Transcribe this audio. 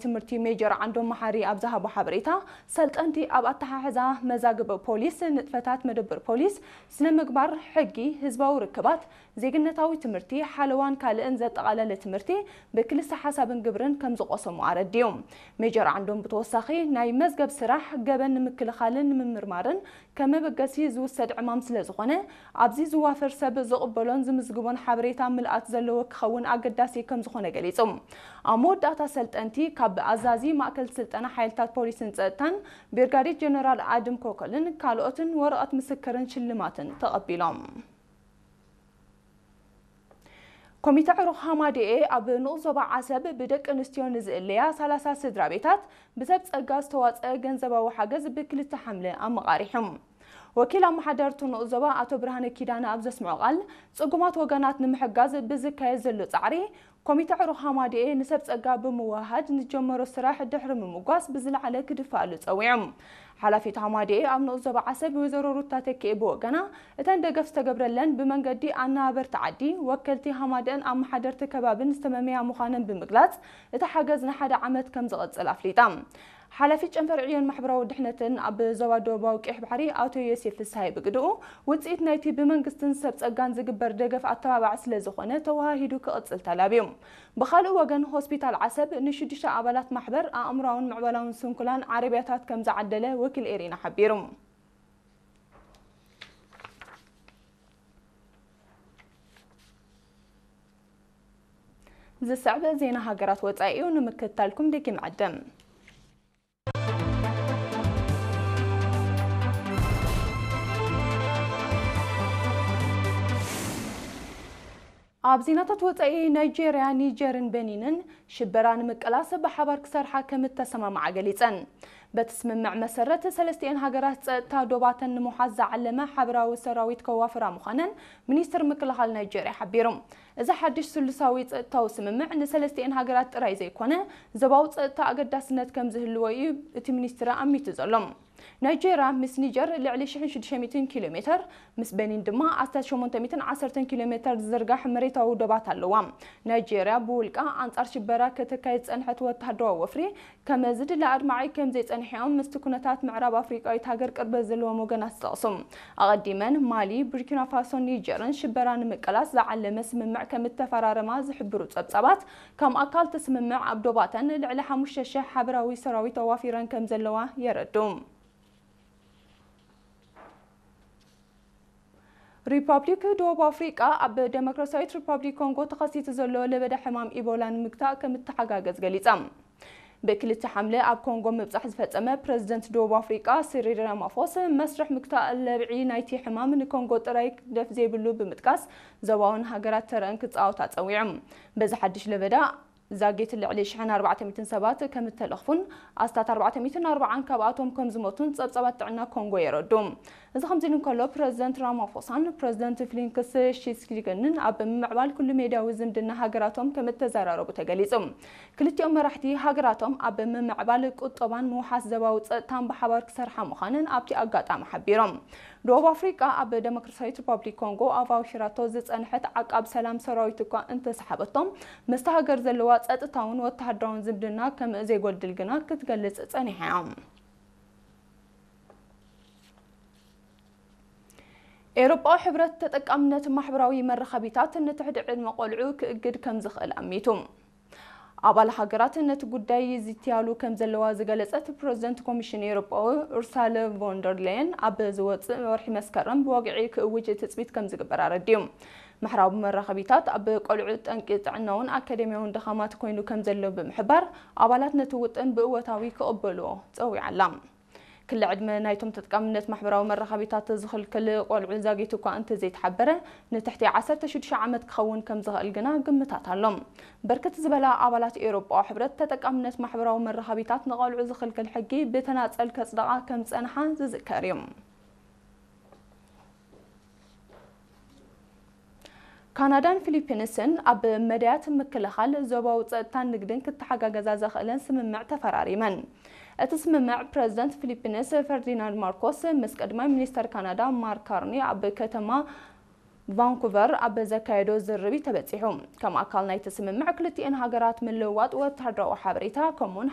ትምህርቲ ሜጀር ዓንዶም መሓሪ ኣብ ዝሃቦ ሓበሬታ፣ ሰልጠንቲ ኣብ ኣተሓሕዛ መዛግብ ፖሊስ፣ ንጥፈታት መደብር ፖሊስ፣ ስነ ምግባር፣ ሕጊ፣ ህዝባዊ ርክባት፣ ዜግነታዊ ትምህርቲ፣ ሓለዋን ካልእን ዘጠቓለለ ትምህርቲ ብክልሰ ሓሳብን ግብርን ከም ዝቆሰሙ ኣረዲኡ። ሜጀር ዓንዶም ብተወሳኺ ናይ መዝገብ ስራሕ ገበን ንምክልኻልን ንምምርማርን ከም መበገሲ ዝውሰድ ዕማም ስለ ዝኾነ፣ ኣብዚ ዝዋፈር ሰብ ዝቕበሎን ዝምዝግቦን ሓበሬታ ምልኣት ዘለዎ ክኸውን ኣገዳሲ ከም ዝኾነ ገሊጹ። ኣብ መወዳእታ ሰልጠንቲ ካብ ኣዛዚ ማእከል ስልጠና ሓይልታት ፖሊስን ጸጥታን ብርጋዴር ጀነራል ኣድም ኮኮልን ካልኦትን ወረቐት ምስክርን ሽልማትን ተቐቢሎም። ኮሚተ ዕሩኽ ሃማደኤ ኣብ ንኡስ ዞባ ዓሰብ ብደቂ ኣንስትዮ ንዝእለያ ሰላሳ ስድራ ቤታት ብሰብ ጸጋ ዝተዋጸአ ገንዘባዊ ሓገዝ ብክልተ ሓምለ ኣመቓሪሑ። ወኪል ኣመሓደርቲ ንኡስ ዞባ ኣቶ ብርሃነ ኪዳነ ኣብ ዘስምዖ ቃል፣ ጽጉማት ወገናት ንምሕጋዝ ብዝካየድ ዘሎ ጻዕሪ፣ ኮሚተ ዕሩኽ ሃማደኤ ንሰብ ጸጋ ብምውህሃድ ንጀመሮ ስራሕ ድሕሪ ምምጓስ ብዝለዓለ ክድፋኣሉ ጸዊዑ። ሓላፊት ሃማደኤ ኣብ ንኡስ ዞባ ዓሰብ ወይዘሮ ሩታ ተኪኤ ብወገና፣ እተን ደገፍ ዝተገብረለን ብመንገዲ ኣነባበርቲ ዓዲ፣ ወከልቲ ሃማደኤን ኣመሓደርቲ ከባብን ዝተመመያ ምዃነን ብምግላጽ፣ እቲ ሓገዝ ንሓደ ዓመት ከም ዝቕጽል ኣፍሊጣ። ሓላፊት ጨንፈር ዕዮን ማሕበራዊ ድሕነትን ኣብ ዞባ ደቡባዊ ቀይሕ ባሕሪ ኣቶ ዮሴፍ ፍስሃየ ብግድኡ፣ ውጽኢት ናይቲ ብመንግስትን ሰብ ጸጋን ዝግበር ደገፍ ኣተባባዒ ስለ ዝኾነ ተወሃሂዱ ክቕጽል ተላብዩ። ብኻልእ ወገን ሆስፒታል ዓሰብ ንሽዱሽተ ኣባላት ማሕበር ኣእምራውን ምዕባላውን ስንኩላን ዓረብያታት ከም ዝዓደለ ወኪል ኤሪና ሓቢሩ። ዝስዕብ ዜና ሃገራት ወጻኢ እዩ፣ ንምክትታልኩም ደጊም ዕድም። ኣብ ዜናታት ወጻኢ፣ ናይጄርያ፣ ኒጀርን በኒንን ሽበራ ንምቅላስ ብሓባር ክሰርሓ ከም እተሰማምዓ ገሊጸን። በቲ ስምምዕ መሰረት፣ ሰለስቲኤን ሃገራት ጸጥታ ዶባተን ንምውሓስ ዝዓለመ ሓበራዊ ሰራዊት ከዋፍራ ምዃነን ሚኒስትር ምክልኻል ናይጄርያ ሓቢሩ። እዚ ሓድሽ ስሉሳዊ ጸጥታዊ ስምምዕ ንሰለስቲኤን ሃገራት ጥራይ ዘይኮነ፣ ዞባዊ ጸጥታ ኣገዳስነት ከም ዝህልዎ እዩ እቲ ሚኒስትር ኣሚቱ ዘሎ። ናይጄርያ ምስ ኒጀር ልዕሊ ሽሕን ሽዱሽተ ሚእትን ኪሎ ሜተር፣ ምስ በኒን ድማ ኣስታት ሸሞንተ ሚእትን ዓሰርተን ኪሎ ሜተር ዝዝርጋሕ መሬታዊ ዶባት ኣለዋ። ናይጄርያ ብውልቃ ኣንጻር ሽበራ ከተካይድ ዝጸንሐት ወተሃደራዊ ወፍሪ፣ ከም ዝድለ ኣድማዒ ከም ዘይጸንሐ እዮም ምስቲ ኩነታት ምዕራብ ኣፍሪቃዊት ሃገር ቅርበት ዘለዎም ወገናት ዝጠቕሱ። ኣቐዲመን ማሊ፣ ቡርኪና ፋሶን ኒጀርን ሽበራ ንምቅላስ ዝዓለመ ስምምዕ ከም እተፈራረማ ዝሕብሩ ጸብጻባት፣ ከም ኣካል እቲ ስምምዕ ኣብ ዶባተን ልዕሊ ሓሙሽተ ሽሕ ሓበራዊ ሰራዊት ኣዋፊረን ከም ዘለዋ የረድኡ። ሪፓብሊክ ደቡብ ኣፍሪቃ ኣብ ደሞክራሲያዊት ሪፓብሊክ ኮንጎ ተኸሲቱ ዘሎ ለበዳ ሕማም ኢቦላ ንምግታእ ከም እተሓጋገዝ ገሊጻ። ብክልተ ሓምለ ኣብ ኮንጎ ምብጻሕ ዝፈጸመ ፕረዚደንት ደቡብ ኣፍሪቃ ሲሪል ራማፎስ፣ መስርሕ ምግታእ ለብዒ ናይቲ ሕማም ንኮንጎ ጥራይ ክግደፍ ዘይብሉ ብምጥቃስ፣ ዞባውን ሃገራት ተረአን ክጻወታ ጸዊዑ። በዚ ሓድሽ ለበዳ ዛጊት ልዕሊ ሽሕን ኣርባዕተ ሚእትን ሰባት ከም እተለኽፉን ኣስታት ኣርባዕተ ሚእትን ኣርባዓን ካብኣቶም ከም ዝሞቱን ጸብጻባት ጥዕና ኮንጎ የረዱ። እዚ ከምዚ ኢሉ እንከሎ፣ ፕረዚደንት ራማፎሳን ፕረዚደንት ፊሊክስ ሺስኪገንን ኣብ ምምዕባል ኩሉ ሜድያዊ ዝምድና ሃገራቶም ከም እተዘራረቡ ተገሊጹ። ክልቲኦም መራሕቲ ሃገራቶም ኣብ ምምዕባል ቁጠባን ምውሓስ ዞባዊ ጸጥታን ብሓባር ክሰርሓ ምዃነን ኣብቲ ኣጋጣሚ ሓቢሮም። ደቡብ ኣፍሪቃ ኣብ ደሞክራሲያዊት ሪፓብሊክ ኮንጎ ኣብ ኣውሽራቶ ዝጸንሐት ዓቃብ ሰላም ሰራዊት እኳ እንተሰሓበቶም፣ ምስቲ ሃገር ዘለዋ ጸጥታውን ወተሃደራውን ዝምድና ከም ዘይጎድል ግና ክትገልጽ ጸኒሓ እያ። ኤውሮጳዊ ሕብረት ተጠቃምነት ማሕበራዊ መራኸቢታት ንትሕቲ ዕድመ ቆልዑ ክእግድ ከም ዝኽእል ኣሚቱ። ኣባል ሃገራት ነቲ ጉዳይ ይዝትያሉ ከም ዘለዋ ዝገለጸት ፕረዚደንት ኮሚሽን ኤውሮጳዊ ኡርሳለ ቮንደር ሌየን፣ ኣብ ዝወጽእ ወርሒ መስከረም ብወግዒ ክእውጅ ትጽቢት ከም ዝግበር ኣረዲኡ። ማሕበራዊ መራኸቢታት ኣብ ቆልዑ ጠንቂ ጥዕናውን ኣካደሚያውን ድኻማት ኮይኑ ከም ዘሎ ብምሕባር፣ ኣባላት ነቲ ውጥን ብእወታዊ ክቕበልዎ ጸዊዓ ኣላ። ክሊ ዕድመ ናይቶም ተጠቃምነት ማሕበራዊ መራኸቢታት ዝኽልክል ቆልዑ ዛጊት እኳ እንተዘይተሓበረ፣ ንትሕቲ ዓሰርተ ሽዱሽተ ዓመት ክኸውን ከም ዝኽእል ግና ግምታት ኣሎ። ብርክት ዝበላ ኣባላት ኤውሮጳዊ ሕብረት ተጠቃምነት ማሕበራዊ መራኸቢታት ንቆልዑ ዝኽልክል ሕጊ ብተናጸል ከጽድቓ ከም ዝጸንሓ ዝዝከር እዩ። ካናዳን ፊሊፒንስን ኣብ መዳያት ምክልኻል ዞባዊ ጸጥታን ንግድን ክተሓጋገዛ ዘኽእለን ስምምዕ ተፈራሪመን። እቲ ስምምዕ ፕረዚደንት ፊሊፒንስ ፈርዲናንድ ማርኮስ ምስ ቀዳማይ ሚኒስተር ካናዳ ማርክ ካርኒ ኣብ ከተማ ቫንኩቨር ኣብ ዘካየዶ ዝርርብ እዩ ተበጺሑ። ከም ኣካል ናይቲ ስምምዕ ክልቲኤን ሃገራት ምልውዋጥ ወታደራዊ ሓበሬታ ከምኡውን